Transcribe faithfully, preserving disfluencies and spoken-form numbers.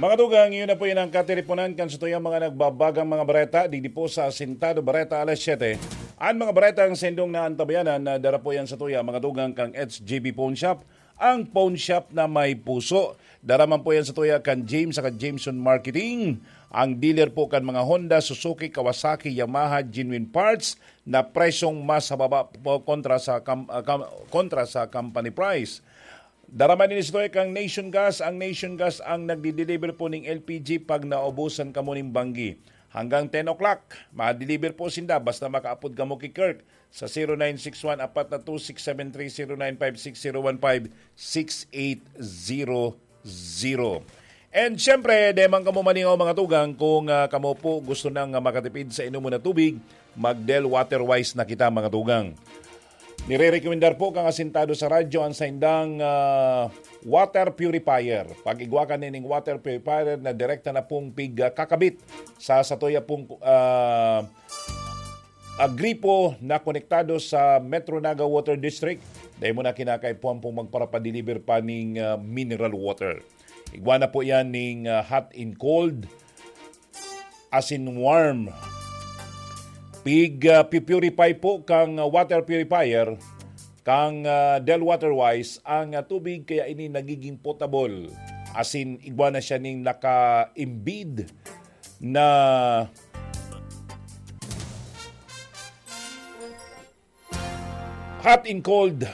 Mga tugang, yun na po yun ang kateleponan kan sa tuyang mga nagbabagang mga bareta, digdi po sa Asintado Bareta, alas siyete. Ang mga baretang sendong na antabayanan na dara po yan sa tuya, mga tugang, kang H J B Pawn Shop, ang pawn shop na may puso. Dara man po yan sa tuya kan James saka Jameson Marketing, ang dealer po kan mga Honda, Suzuki, Kawasaki, Yamaha, genuine parts na presyong mas hababa po kontra sa kam-, ah, kam-, kontra sa company price. Dara man ini sa tuya kang Nation Gas. Ang Nation Gas ang nagdi-deliver po ning L P G pag naubusan kamo ning banggi. Hanggang ten o'clock, ma-deliver po sinda basta makaapod kamo ki Kirk sa zero nine six one apat na two six seven three, zero nine five six zero one five six eight zero zero. And siyempre, di man kamo malingaw, mga tugang, kung, ah, kamo po gusto nang, ah, makatipid sa inom mo na tubig, mag-Del Water Wise na kita, mga tugang. Nire-recommendar po kang asintado sa radyo ang saindang, ah, water purifier. Pag-igwa ka nining water purifier na direkta na pong pig, ah, kakabit sa satuya pong, ah, ah, gripo na konektado sa Metro Naga Water District, dahil mo na kinakaipuhan pong magparapadeliver pa ning, ah, mineral water. Igwa na po yan ning, ah, hot and cold, asin warm. Pig, ah, pi-purify po kang, ah, water purifier, kang, ah, Del Water Wise, ang, ah, tubig, kaya ini nagiging potable. Asin igwa na siya ning naka-embed na hot and cold